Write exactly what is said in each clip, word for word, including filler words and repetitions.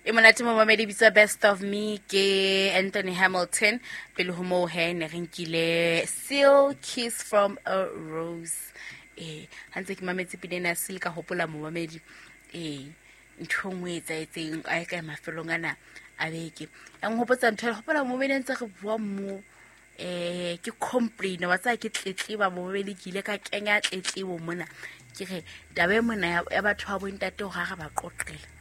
E monate momamedi bitsa Best of Me ke Anthony Hamilton. Pele ho moo he ne re nkile Seal Kiss from a Rose. Eh, ha ntse ke mametse pina ena ya Seal ka hopola momamedi. Eh, ntho e nngwe e etsahetseng a e kae mafelong ana a beke. Ya nhopotsa ntho e hopola momamedi a ntse re bua mo eh ke complain wa tsaya ke tletleba momamedi ke ile ka kenya tletlebo mona. Ke re taba e mona ya, ya batho ba bontate hore ha re ba qoqela.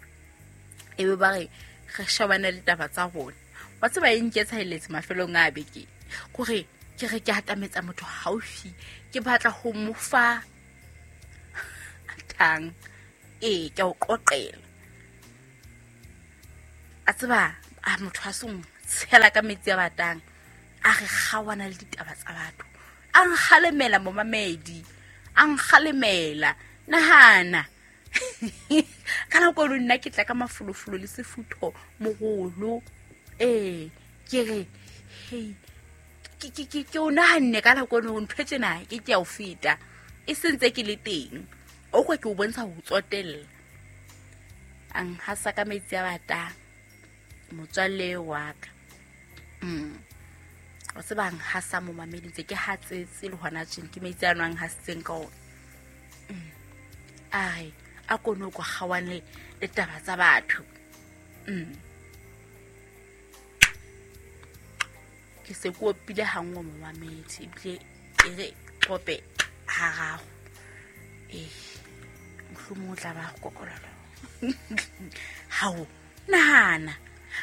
Ebe ba re re shebane le taba tsa rona. Wa tseba e nketsahelletse mafelong a beke. Kore ke re ke atametsa motho haufi, ke batla ho mo fa thang. Ee, ke a o qoqela. A tseba a motho a song tshela ka metsi a batang. A re kgawana le ditaba tsa batho. A nkgalemela momamedi. A nkgalemela. Nahana. Ka nako eno nna ke tla ka mafolofolo le sefutho moholo. Ee, ke re, hei, ke, ke, ke, ke o nahanne ka nako eno ntho e tjena ke ke ya o feta. E sentse ke le teng. O kwa ke o bontsha ho tsotella. A nhasa ka metsi a batang. Motswalle wa ka. Mm. Wa tseba nhasa momamedi ntse ke hatsetse le hona tjena ke metsi a nwang hasitseng ka ona. Mm. A re a kono kwa kgawane le taba tsa batho. Mm. Ke se ke opile ha nngwe momamedi ebile e re qope hararo. Eh, mohlomong o tla ba kokololo. Hao, nahana.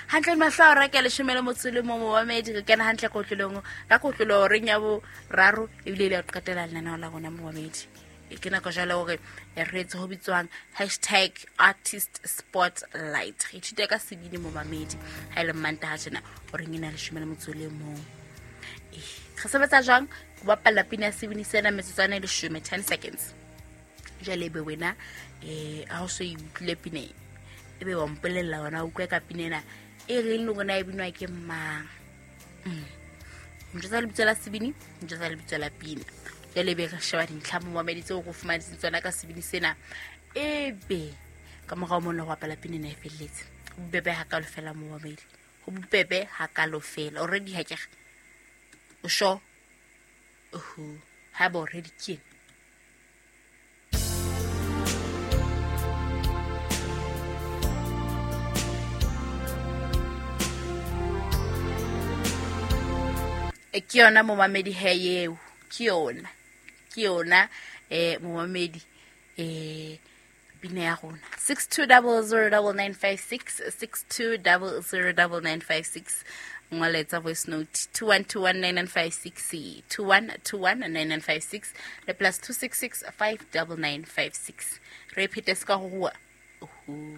Hantle mahlo a reka leshome le motso le mo momamedi re kena hantle kotlolong ka kotlolo reng ya boraro ebile le qetela lenaneo la rona momamedi. E ke nako jwale hore re etse ho bitswang hashtag artist spotlight. Re ithute ka sebini momamedi ha e le Mantaha tjena hore ngena leshome le motso le mong. Eh, re sebetsa jwang? Ho bapalla pina ya sebini sena metsotswana e leshome, ten seconds. Jwale ebe wena eh ha o so e utlwile pina e, ebe wa mpolella wena o utlwe ka pina ena e reng le rona e binwa ke mang. Mm. Ntho lebitso la sebini, ntho lebitso la pina. Jwale ebe re sheba dintlha momamedi tseo re fumanetseng tsona ka sebini sena. Ebe ka morao mona ho bapala pina ena e felletse. Ho bobebe hakalo fela momamedi. Ho bobebe hakalo fela. Already ha ke re. O sure? Oho, ha ba already ke ena. E ke yona momamedi he eo. Ke yona. Ke yona eh momamedi eh pina ya rona. six two double zero double nine five six, six two double zero double nine five six. Ngoletsa voice note two one two one nine nine five six, two one two one nine nine five six le plus two six six five double nine five six. Re phete ska ho rua. Oho.